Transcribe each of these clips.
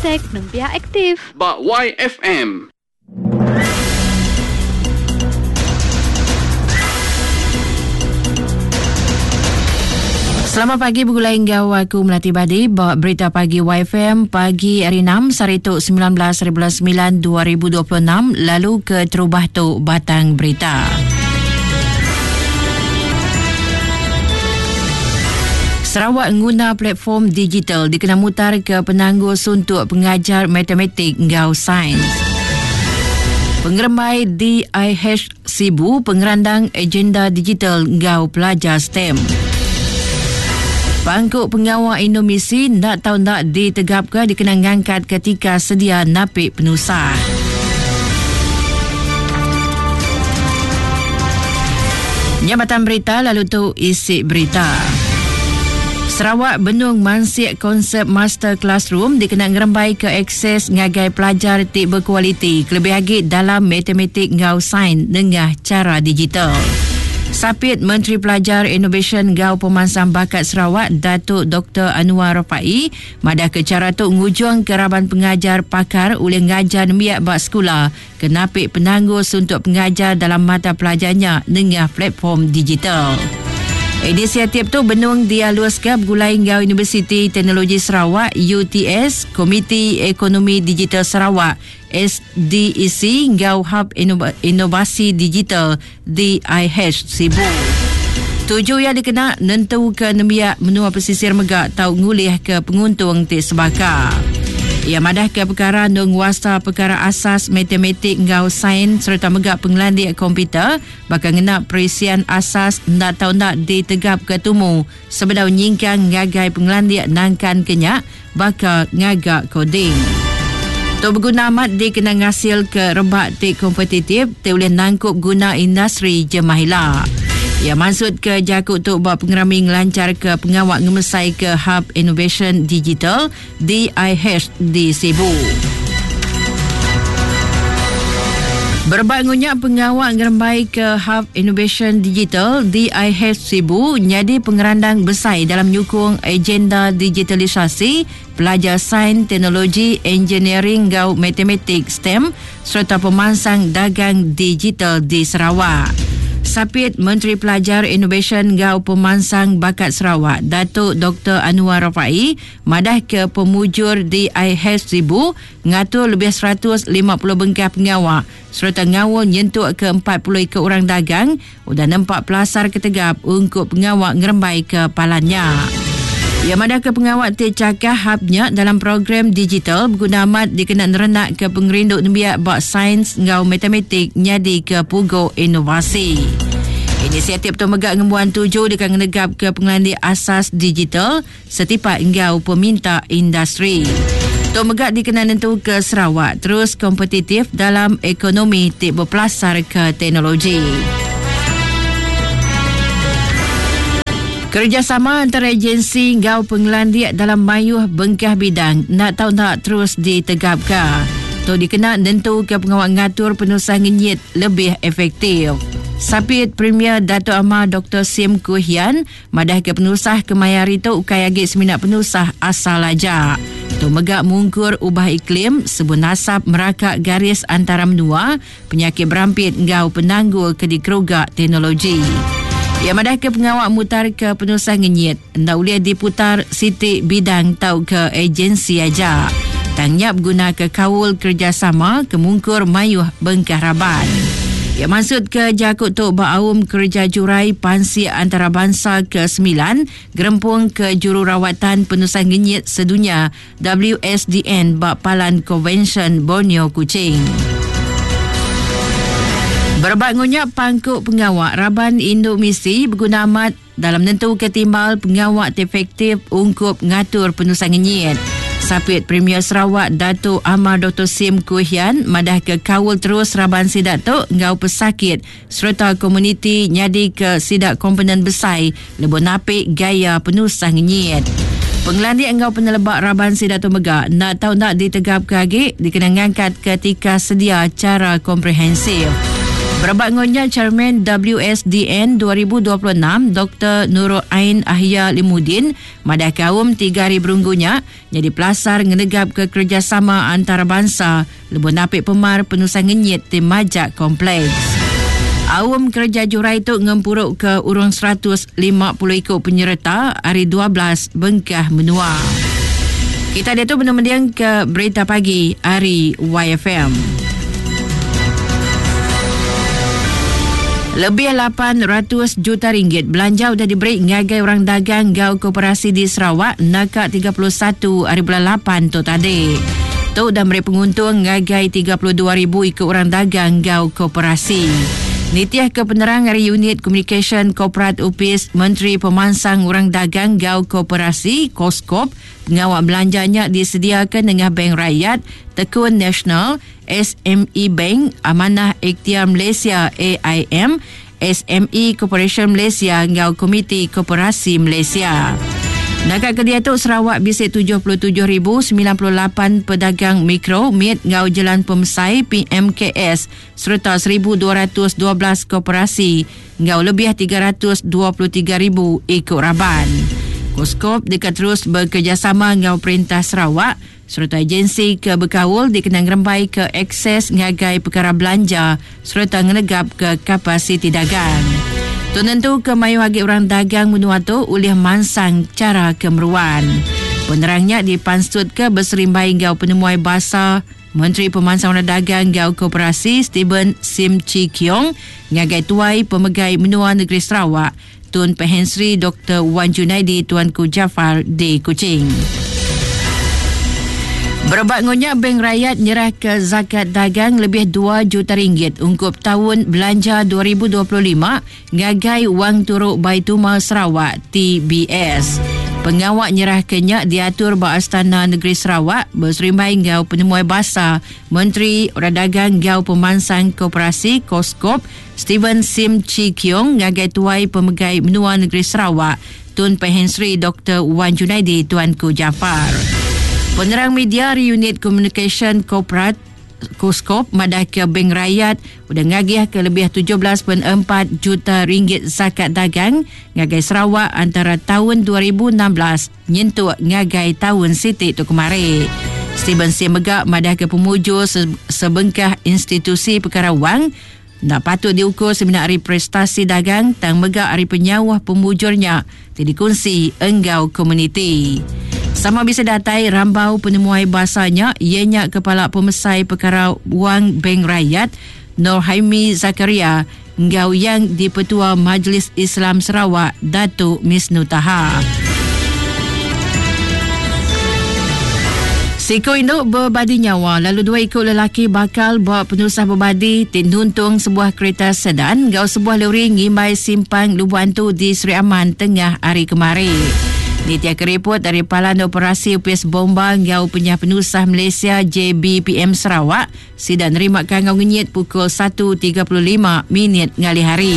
Hashtag Nembiak Aktif. Ba YFM. Selamat pagi begulai enggau aku Melati Badi ba Berita Pagi YFM pagi hari 6 sehari tu 19 hari bulan 9 2026 lalu ke terubah tu batang berita. Sarawak nguna platform digital dikena mutar ke penanggul suntuk pengajar matematik enggau sains. Pengerembai DIH Sibu pengerandang agenda digital enggau pelajar STEM. Pangku pengawa Indomisi enda tau enda ditegapka dikena ngangkat ketika sedia napi penusah. Nya batang berita lalu tu isi berita. Sarawak benung mansik konsep master classroom dikena ngerembai ke akses ngagai pelajar ti bekualiti kelebih agi dalam matematik enggau sains nengah chara digital. Sapit Menteri Pelajar Inovasyen enggau Pemansang Bakat Sarawak Datuk Doktor Annuar Rapaee madahka chara tu ngujungka raban pengajar pakar ulih ngajar nembiak ba sekula ke napi penanggul suntuk pengajar dalam mata pelajar nya nengah platform digital. Inisiatif tu benung dialuska begulai enggau Universiti Teknologi Sarawak, UTS, Komiti Ekonomi Digital Sarawak, SDEC, enggau Hub Inovasi Digital DIH Sibu. Tuju iya dikena nentuka nembiak menua pesisir mega tau ngulihka penguntung ti sebaka. Iya madahka pekara endur nguasa pekara asas matematik enggau sains sereta mega pengelandik komputer baka ngena perisian asas enda tau enda ditegapka tumu sebedau nyingkang ngagai pengelandik nangkanka nya baka ngaga koding. Tu beguna amat dikena ngasilka rebak ti kompetitif ti ulih nangkup guna industri jemah ila. Iya mansutka jaku tu ba pengerami ngelancharka pengawa ngemesaika Hub Innovation Digital DIH di Sibu. Berebak ngunya pengawa ngerembaika Hub Innovation Digital DIH Sibu nyadi pengerandang besai dalam nyukung agenda digitalisasi pelajar sains, teknologi, engineering enggau matematik, STEM, sereta pemansang dagang digital di Sarawak. Sapit Menteri Pelajar Inovasyen enggau Pemansang Bakat Sarawak, Datuk Doktor Annuar Rapaee madahka pemujur DIH Sibu ngatur lebih 150 bengkah pengawa sereta ngaul nyentuk ke 40 iku orang dagang udah nempa pelasar ke tegap ungkup pengawa ngerembaika palan nya. Iya madahka pengawa ti chakah hub nya dalam program digital beguna amat dikena nerenakka pengerindu nembiak ba sains enggau matematik nyadika pugu inovasi. Inisiatif tu mega ngembuan tuju deka ngenegapka pengelandik asas digital setipak enggau peminta industri. Tu mega dikena nentuka Sarawak terus kompetitif dalam ekonomi ti bepelasarka teknologi. Kerejasama antara agensi enggau pengelandik dalam mayuh bengkah bidang enda tau enda terus ditegapka. Tu dikena nentuka pengawa ngatur penusah ngenyit lebih efektif. Sapit Premier Datuk Amar Doktor Sim Kui Hian Madahka penusah kemaya hari tu ukai agi semina penusah asal aja. Tu mega mungkur ubah iklim, sebun asap meraka garis antara menua, penyakit berampit enggau penanggul ke dikeruga teknologi. Iya madahka pengawa mutarka penusah ngenyit enda ulih diputar siti bidang tauka agensi aja. Tang nya begunaka kaul kerejasama ke mungkur mayuh bengkah raban. Iya mansutka jaku tu ba aum kereja jurai pansik antarabansa ke semilan Gerempung Kejururawatan Penusah Ngenyit Sedunya, WSDN, ba Palan Konvensyen Borneo Kuching. Berebak enggau nya, pangku pengawa raban indu misi beguna amat dalam nentuka timbal pengawa ti efektif ungkup ngatur penusah ngenyit. Sapit Premier Sarawak Datuk Amar Doktor Sim Kui Hian madahka kaul terus raban sida tu enggau pesakit sereta komuniti nyadika sida komponen besai lebuh napi gaya penusah ngenyit. Pengelandik enggau peneleba raban sida tu mega enda tau enda ditegapka agi dikena ngangkatka tikas sedia chara komprehensif. Berebak enggau nya, Chairman WSDN 2026 Doktor Nurul Ain Ahya Limudin madah kaum tiga hari berunggu nya nyadi pelasar ngenegapka kerejasama antarabansa lebuh napi pemar penusah ngenyit ti majak kompleks. Aum kereja jurai tu ngempuruka urung 150 iku penyereta ari 12 bengkah menua. Kita diatu benung mendingka berita pagi ari YFM. Lebih 800 juta ringgit belanja udah diberi ngagai orang dagang enggau koperasi di Sarawak naka 31 hari bulan 8 tu tadi. Tu udah meri penguntung ngagai 32,000 iku orang dagang enggau koperasi. Nitih ke penerang ari Unit Komunikasyen Korporat Opis Menteri Pemansang Orang Dagang enggau Koperasi, Koskop, pengawa belanja nya disediaka nengah Bank Rakyat, Tekun Nasional, SME Bank, Amanah Ikhtiar Malaysia, AIM, SME Corporation Malaysia enggau Komiti Koperasi Malaysia. Naka ke diatu Sarawak bisi 77,098 pedagang mikro, mit enggau jelan pemesai PMKS sereta 1,212 koperasi enggau lebih 323,000 iku raban. Koskop deka terus bekerejasama enggau Perintah Sarawak sereta agensi ke bekaul dikena ngerembaika akses ngagai pekara belanja sereta ngenegapka kapasiti dagang. Tu nentuka mayuh agi orang dagang menua tu ulih mansang chara ke meruan. Penerang nya dipansutka beserimbai enggau penemuai basa Menteri Pemansang Orang Dagang enggau Koperasi Stephen Sim Chee Keong ngagai Tuai Pemegai Menua Negeri Sarawak Tun Pehin Sri Doktor Wan Junaidi Tuanku Jaafar di Kuching. Berebak enggau nya, Bank Rakyat nyerahka zakat dagang lebih dua juta ringgit ungkup taun belanja 2025 ngagai Wang Turu Baitulmal Sarawak, TBS. Pengawa nyerahka nya diatur ba Astana Negeri Sarawak beserimbai enggau penemuai basa Menteri Orang Dagang enggau Pemansang Koperasi, Koskop, Stephen Sim Chee Keong ngagai Tuai Pemegai Menua Negeri Sarawak, Tun Pehin Sri Doktor Wan Junaidi Tuanku Jaafar. Penerang media ari Unit Komunikasyen Korporat Kuskop madahka Bank Rakyat udah ngagihka lebih 17.4 juta ringgit zakat dagang ngagai Sarawak antara taun 2016 nyentuk ngagai taun siti tu kemari. Stephen Sim mega madahka pemujur sebengkah institusi pekara wang enda patut diukur semina ari prestasi dagang tang mega ari penyauh pemujur nya ti dikunsi enggau komuniti. Sama bisi datai rambau penemuai basa nya iya nya Kepala Pemesai Pekara Wang Bank Rakyat Nor Haimi Zakaria enggau Yang Dipertua Majlis Islam Sarawak Datuk Misnu Taha. Siku indu bebadi nyawa lalu dua iku lelaki bakal ba penusah bebadi ti nuntung sebuah kerita sedan enggau sebuah lori ngimbai simpang Lubuk Antu di Sri Aman tengah hari kemari. Nitihka ripot ari Palan Operasi Opis Bomba enggau Penyah Penusah Malaysia JBPM Sarawak, Sida nerima kangau ngenyit pukul 1.35 minit ngalih hari.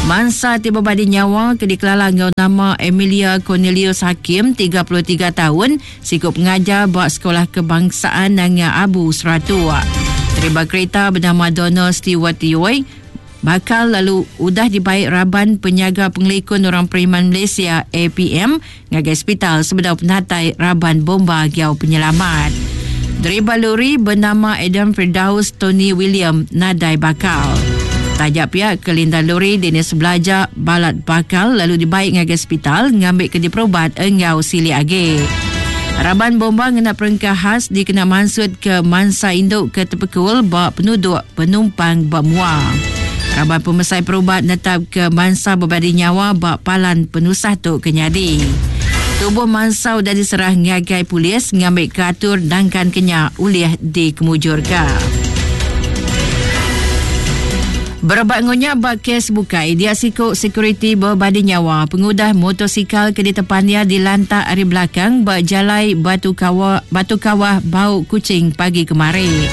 Mansa ti bebadi nyawa ke dikelala enggau nama Emilia Cornelius Hakim, 33 taun, siku pengajar ba Sekolah Kebangsaan Nanga Abu, Seratuk. Deriba kerita benama Donald Stewart Yoi bakal lalu udah dibai raban Penyaga Pengelikun Orang Periman Malaysia, APM, ngagai sepital sebedau penatai raban bomba enggau penyelamat. Deriba lori benama Adam Firdaus Tony William nadai bakal. Taja pia kelindan lori Dennis Belaja balat bakal lalu dibai ngagai sepital ngambika diperubat enggau silik agi. Raban bomba ngena perengka khas dikena mansutka mansa indu ke tepekul ba penuduk penumpang ba mua. Raban pemesai perubat netapka mansa bebadi nyawa ba palan penusah tu ke nyadi. Tubuh mansa udah diserah ngagai polis ngambika atur nangkanka nya ulih dikemujurka. Berebak enggau nya ba kes bukai, dia siku sekuriti bebadi nyawa pengudah motosikal ke ditepan iya dilantak ari belakang ba Jalai Batu Kawa, Batu Kawah Bau Kuching pagi kemari.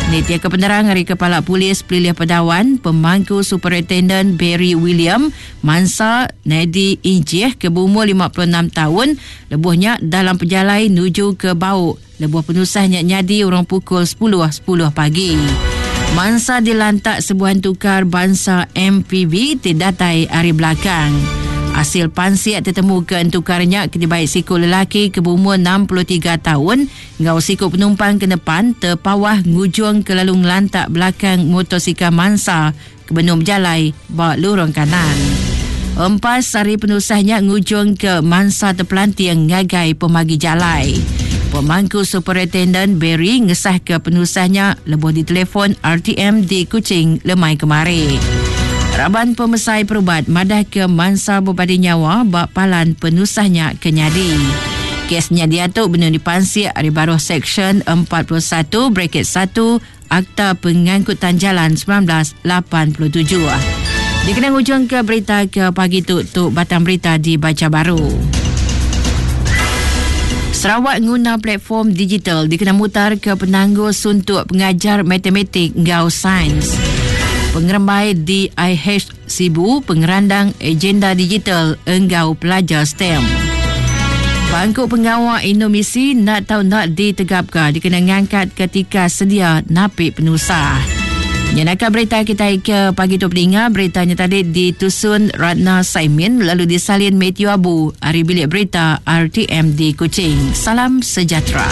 Nitihka penerang ari Kepala Polis Pelilih Padawan, Pemangku Superintenden Barry William, mansa Nedi Injih ke beumur 56 taun lebuh nya dalam pejalai nuju ke Bau lebuh penusah nya nyadi urung pukul 10.10 pagi. Mansa dilantak sebuah entukar bansa MPV ti datai ari belakang. Asil pansik tetemuka entukar nya ke dibai siku lelaki ke beumur 63 taun enggau siku penumpang ke nepan tepawah ngujung ke lalu ngelantak belakang motosikal mansa ke benung bejalai ba lurung kanan. Empas ari penusah nya ngujungka mansa tepelanting ngagai pemagi jalai. Pemangku Superintenden Barry ngesahka penusah nya lebuh ditelefon RTM di Kuching lemai kemari. Raban pemesai perubat madahka mansa bebadi nyawa ba palan penusah nya ke nyadi. Kes nya diatu benung dipansik ari baruh Seksyen 41 bracket 1 Akta Pengangkutan Jalan 1987. Dikena ngujungka berita ke pagi tu, tu batang berita dibacha baru. Sarawak nguna platform digital dikena mutarka penanggul suntuk pengajar matematik enggau sains. Pengerembai DIH Sibu pengerandang agenda digital enggau pelajar STEM. Pangku pengawa Indomisi enda tau enda ditegapka dikena ngangkatka tikas sedia napi penusah. Nyenaka berita kitai ke pagi tu peninga, berita nya tadi ditusun Ratna Saimin lalu disalin Matthew Abu ari bilik berita RTM di Kuching. Salam sejahtera.